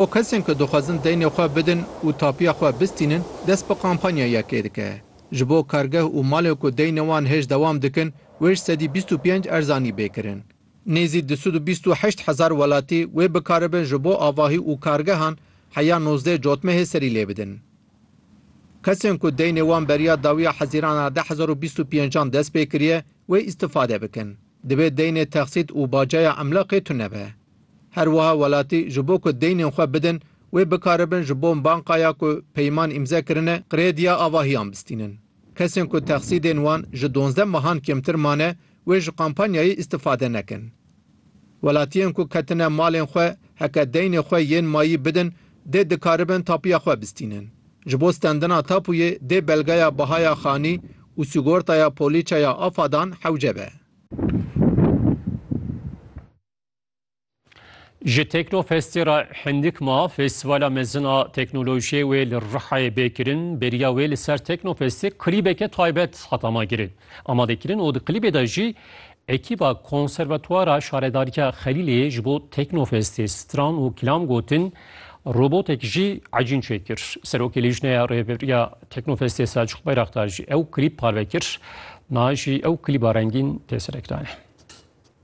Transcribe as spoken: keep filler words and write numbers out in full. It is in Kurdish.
Bo kesên ku dixwazin deynê xwe bidin û tapiya xwe bistînin, dest bi kampanyayekê dike. Ji bo kargeh û malên ku deynê wan hêj dewam dikin, wê ji sedî bîst û pênc erzanî bê kirin. Nêzî du sed û bîst û heşt hezar welatî wê bikaribin ji bo avahî û kargehan heya nozdeh cotmehê serî lê bidin. Kesên ku deynê wan beriya dawiya Hezîrana du hezar û bîst û pêncan dest pê kiriye, wê îstifade bikin. Divê deynê texsît û baceya emlaqê tune be. Her wiha welatî ji bo ku deynên xwe bidin, wê bikaribin ji bo bankaya ku peyman îmze kirine, krediya avahiyan bistînin. Kesên ku texsîdên wan ji duwazdeh mehan kêmtir mane, wê ji kampanyayê îstifade nekin. Welatiyên ku ketine malên xwe, heke deynê xwe yên mayî bidin, dê dikaribin tapiya xwe bistînin. Ji bo stendina tapûyê dê belgeya bihaya xanî û sîgortaya polîçeya afadan hewce be. Ji Teknofestê re hindik ma, Festîvala Mezin a Teknolojiyê wê li Rihayê bê kirin. Beriya wê li ser Teknofestê klîbeke taybet hat amakirin, amadekirin û di klîbê de jî ekîba Konservatuara Şaredariya Xelîlê ji bo Teknofestê stran û kilam gotin, robotek jî ecîn çêkir. Serokê Lijneya Rêveberiya Teknofestê Selçuk Bayraktar jî ew klîb parve kir. Niha jî ew klîba rengîn tê serekranê.